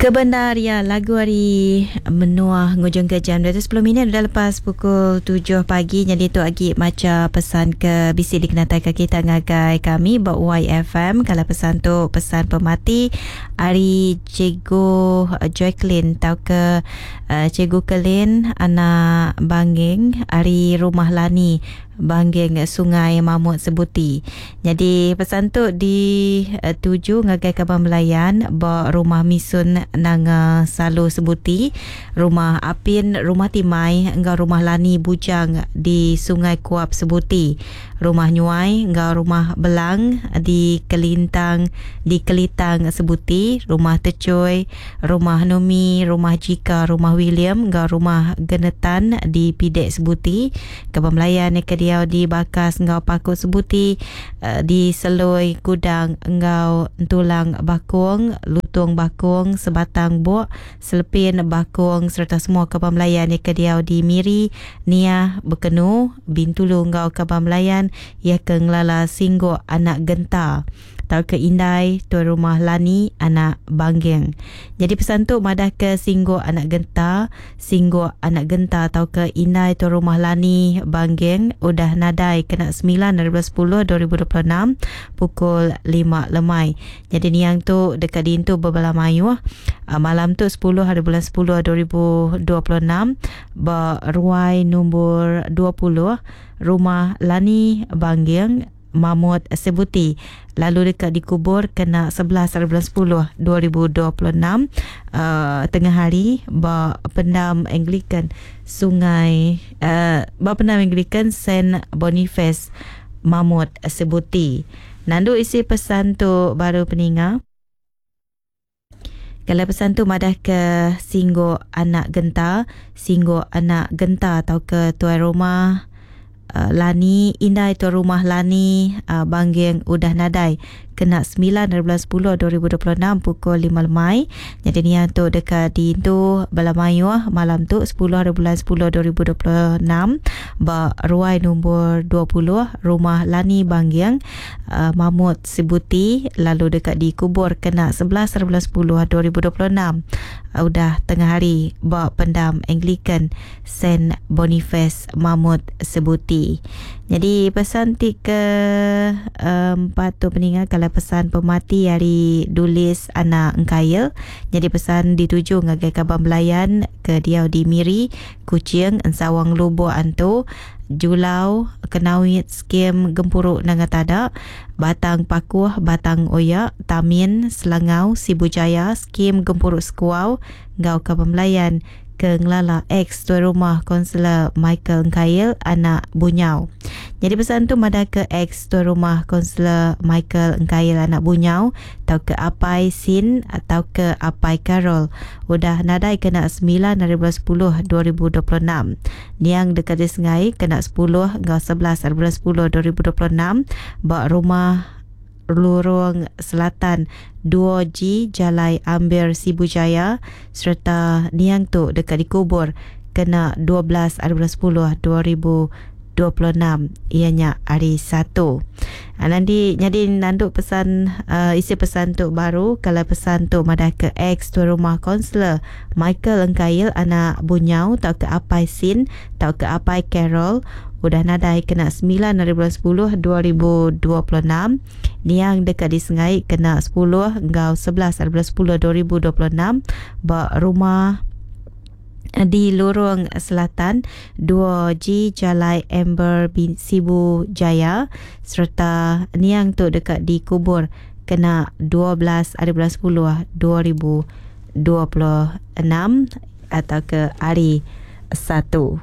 Kebendar iya lagu ari menua ngujung ke jam 210 minit udah lepas pukul 7 pagi. Jadi tu agi macha pesan ke bisi dikenatai ke kita ngagai kami ba YFM. Kalau pesan tu pesan pemati ari Cikgu Jacqueline tau ke Cikgu Kelin anak Banging ari Rumah Lani Bangging Sungai Mamut Sebuti. Nyadi pesan tu dituju ngagai kaban belayan ba Rumah Misun Nanga Salu Sebuti, Rumah Apin Rumah Timai enggau Rumah Lani Bujang di Sungai Kuap Sebuti, Rumah Nyuai enggau Rumah Belang di Kelintang di Kelitang Sebuti, Rumah Techoi, Rumah Numi, Rumah Jika, Rumah William enggau Rumah Genetan di Pidek Sebuti. Kaban belayan ke diau di Bakas enggau Paku Sebuti, di Seloi, Kudang enggau Entulang Bakong, Lutung Bakong, Sebatang Bok, Selepin Bakong sereta semua kaban belayan ke diau di Miri, Niah, Bekenu, Bintulu enggau kaban belayan iya ke ngelala Singgok anak Genta tauka indai tuai rumah Lani anak Bangging. Nyadi pesan tu madahka Singgok anak Genta, Singgok anak Genta tauka indai tuai rumah Lani Bangging udah nadai kena semilan ari bulan sepuluh 2026 pukul lima lemai. Nyadi niang tu deka diintu bebala mayuh malam tu sepuluh ari bulan sepuluh 2026 ba ruai nombor 20 Rumah Lani Bangging, Mamut Sebuti lalu deka dikubur kena 11 hari bulan 10 2026 tengah hari ba Pendam Anglican Sungai ba Pendam Anglican Saint Boniface Mamut Sebuti. Nandu isi pesan tu baru peninga. Kalau pesan tu madah ke Singgok anak Genta, Singgok anak Genta tauka tuai rumah Lani, indai tuai rumah Lani Bangging udah nadai kena semilan ari bulan sepuluh 2026 pukul lima lemai. Nyadi niang tu deka diintu bala mayuh malam tu sepuluh ari bulan sepuluh 2026 ba ruai nombor 20 Rumah Lani Bangging Mamut Sibuti lalu deka dikubur kena 11 hari bulan 10 2026 udah tengah hari ba Pendam Anglican Saint Boniface Mamut Sibuti. Nyadi pesan ti ke empat tu peninga kalau pesan pemati ari Dulis anak Engkail. Nyadi pesan dituju ngagai kaban belayan ke diau di Miri, Kuching, Ensawang Lubok Antu, Julau, Kenawit, Skim Gempuru Nanga Tada, Batang Pakuh, Batang Oya, Tamin, Selangau, Sibu Jaya, Skim Gempuru Sekuau enggau Kaban Belayan ke ngelala ex Tuai Rumah Konselor Michael Engkail anak Bunyau. Nyadi pesan tu madahka ex Tuai Rumah Konselor Michael Engkail anak Bunyau tauka apai Sin tauka apai Carol udah nadai kena semilan ari bulan sepuluh 2026. Niang deka disengai kena sepuluh enggau 11 ari bulan sepuluh 2026 ba Rumah Lurung Selatan 2G Jalai Ambir Sibu Jaya sereta niang tu deka dikubur kena 12 ari bulan sepuluh 2026 iya nya hari Satu. Nanti nyadi nandu pesan isi pesan tu baru kalau pesan tu madah ke ex tuai rumah kaunselor Michael Engkail anak Bunyau tauka apai Sin tauka apai Carol udah nadai kena semilan ari bulan sepuluh 2026 niang deka disengai kena sepuluh enggau 11 ari bulan sepuluh 2026 ba rumah di Lurung Selatan 2G Jalai Amber Sibu Jaya sereta niang tu deka dikubur kena 12 ari bulan 10 2026 atau ke hari Satu.